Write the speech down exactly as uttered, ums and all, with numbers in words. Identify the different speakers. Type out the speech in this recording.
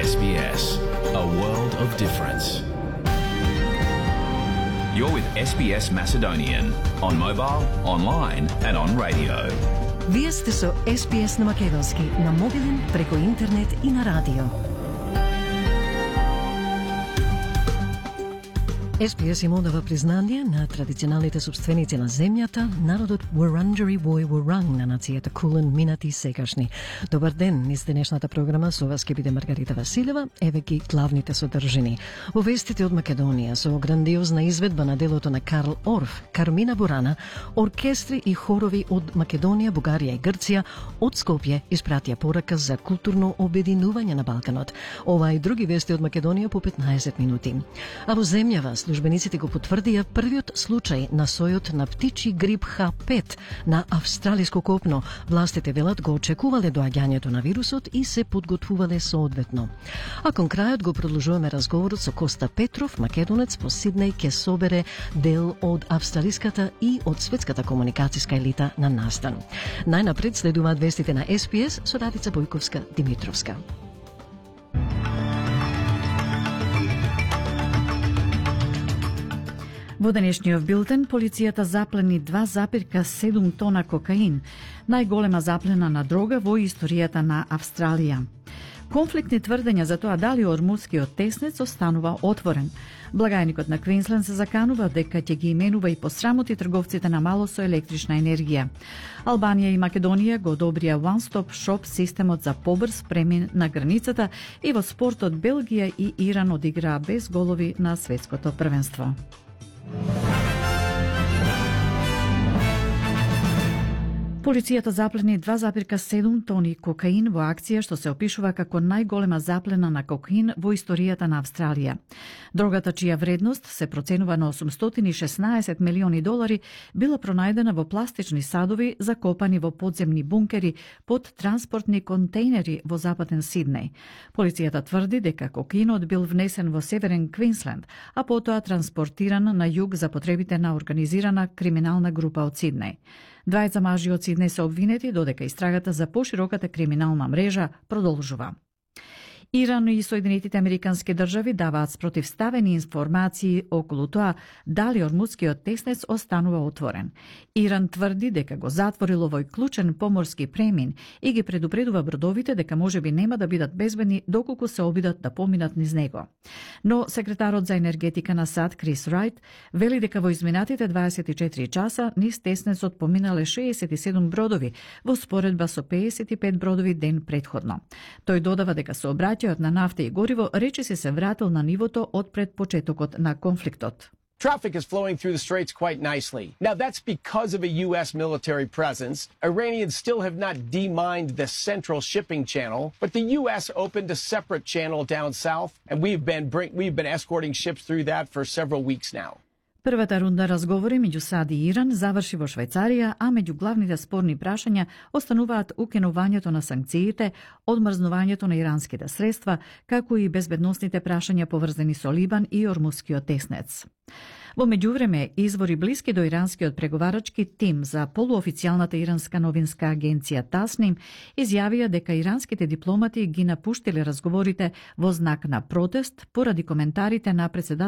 Speaker 1: S B S, a world of difference. You're with S B S Macedonian on mobile, online and on radio.
Speaker 2: Вие сте со С Б С на македонски, на мобилен, преку интернет и на радио. С Б С им одава признание на традиционалните собственици на земјата, народот Wurundjeri Woi Wurrung на нацијата Кулен, минати и сегашни. Добар ден, низ денешната програма со вас ќе биде Маргарита Василева, еве ги главните содржини. Во вестите од Македонија, со грандиозна изведба на делото на Карл Орф, Кармина Бурана, оркестри и хорови од Македонија, Бугарија и Грција од Скопје испратија порака за културно обединување на Балканот. Ова и други вести од Македонија по петнаесет минути. А во земјава службениците го потврдија првиот случај на сојот на птичи грип Х пет на австралиско копно. Властите велат го очекувале доаѓањето на вирусот и се подготвувале соодветно. А кон крајот го продолжуваме разговорот со Коста Петров, македонец по Сиднеј, ке собере дел од австралиската и од светската комуникацијска елита на настан. Најнапред следуваат вестите на С Б С со Радица Бојковска-Димитровска.
Speaker 3: Во денешниот билтен, полицијата заплени два зарез седум тона кокаин, најголема заплена на дрога во историјата на Австралија. Конфликтни тврдења за тоа дали ормудскиот теснец останува отворен. Благајникот на Квинсленд се заканува дека ќе ги именува и посрамоти трговците на мало со електрична енергија. Албанија и Македонија го одобрија one-stop shop системот за побрз премин на границата и во спортот Белгија и Иран одиграа без голови на светското првенство. Полицијата заплени два зарез седум тони кокаин во акција што се опишува како најголема заплена на кокаин во историјата на Австралија. Дрогата, чија вредност се проценува на осумстотини и шеснаесет милиони долари, била пронајдена во пластични садови закопани во подземни бункери под транспортни контейнери во западен Сиднеј. Полицијата тврди дека кокаинот бил внесен во северен Квинсленд, а потоа транспортиран на југ за потребите на организирана криминална група од Сиднеј. Двајца мажи од Сиднеј се обвинети, додека истрагата за пошироката криминална мрежа продолжува. Иран и Соединетите Американски држави даваат спротивставени информации околу тоа дали ормудскиот теснец останува отворен. Иран тврди дека го затворил овој клучен поморски премин и ги предупредува бродовите дека можеби нема да бидат безбедни доколку се обидат да поминат низ него. Но секретарот за енергетика на САД Крис Рајт вели дека во изминатите дваесет и четири часа низ теснецот поминале шеесет и седум бродови во споредба со пеесет и пет бродови ден предходно. Тој додава дека сообраќајот на нафта и гориво речиси се вратил на нивото од пред почетокот на конфликтот.
Speaker 4: Traffic is flowing through the straits quite nicely. Now, that's because of a U S military presence. Iranians still have not demined the central shipping channel, but the U S opened a separate channel down south, and we've been bring, we've been escorting ships through that for several weeks now.
Speaker 3: Првата рунда разговори меѓу САД и Иран заврши во Швајцарија, а меѓу главните спорни прашања остануваат укинувањето на санкциите, одмрзнувањето на иранските средства, како и безбедносните прашања поврзани со Либан и ормудскиот теснец. Во меѓувреме, извори блиски до иранскиот преговарачки тим за полуофицијалната иранска новинска агенција Тасним изјавија дека иранските дипломати ги напуштиле разговорите во знак на протест поради коментарите на председател